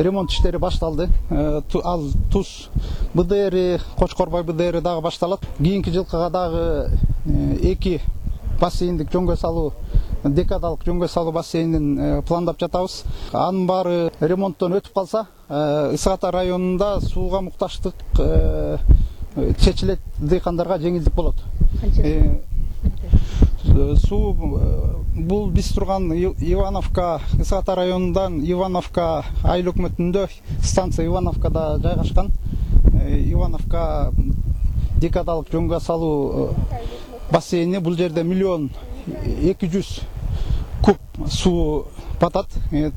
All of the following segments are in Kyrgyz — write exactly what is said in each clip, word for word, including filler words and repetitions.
ремонт иштери башталды. Ал Туз БДР, Кочкорбай БДР дагы башталат. Кийинки жылкыга дагы эки бассейндик жөнгө салуу, декадалык жөнгө салуу бассейнин пландап жатабыз. Анын баары ремонттон өтүп калса, Ысык Ата районунда сууга мукташтык чечилет, дыйкандарга жеңилдик болот. Суу бул биз турган Ивановка, Ысык Ата районундан Ивановка айыл өкмөтүндө станция Ивановкада жайгашкан. Ивановка декадалык жөнгө салуу бассейни, бул жерде миллион эки жүз куб суу батат.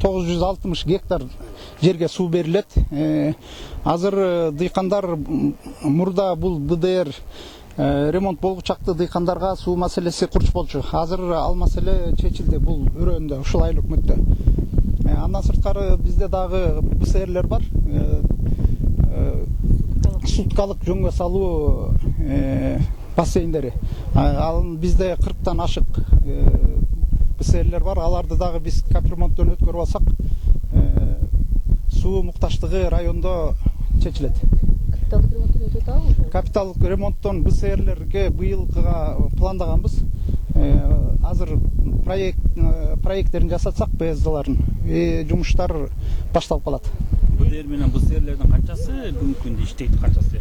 тогуз жүз алтымыш гектар жерге суу берилет. Азыр дыйкандар мурда бул БДР ремонт болгучакты дыйкандарга суу маселеси курч болчу. Азыр ал маселе чечилди бул өрөөндө, ушул айыл өкмөттө. Андан сырткары бизде дагы БСРлер бар. Суткалык жөнгө салуу бассейндери. Ал бизде кырктан ашык БСРлер бар. Аларды дагы биз капремонттон өткөрүп алсак, суу мукташтыгы райондо чечилет. Капиталдык ремонттон өтүп атабы? Капиталдык ремонттон БСРлерге быйылкыга пландаганбыз. Азыр проект проекттерин жасатсак, БСДларын, жумуштар башталып калат. БДР менен БСРлердин канчасы бүгүнкү күндө иштейт, канчасы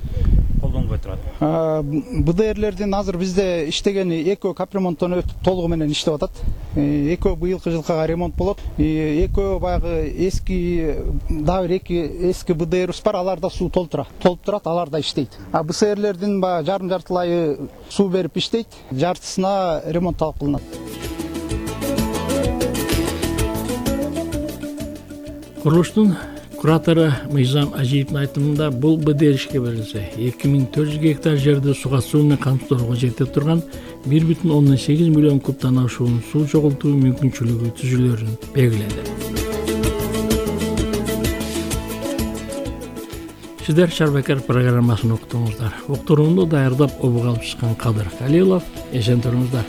колдонбой турат? БДРлердин азыр бизде иштегени экөө капремонттон өтүп толугу менен иштеп атат. Экөө быйылкы жылкыга ремонт болот. Экөө баягы эски, дагы бир эки эски БДРбиз бар, аларда суу толтура. Толуп турат, аларда иштейт. А БСРлердин баягы жарым жартылайы суу берип иштейт, жартысына ремонт талап кылынат. Курулуштун куратору Мыйзам Ажиевдин айтымында бул БДР ишке берилсе, эки миң төрт жүз гектар жерди суга суу менен камтоого жетип турган бир бүтүн ондон сегиз миллион кубтан ашуун суу чогултуу мүмкүнчүлүгү түзүлөрүн белгиледи. Сиздер Шарбакер программасын уктуңуздар. Уктурууну даярдап обуга алып чыккан Кадыр Калилов. Эсен туруңуздар.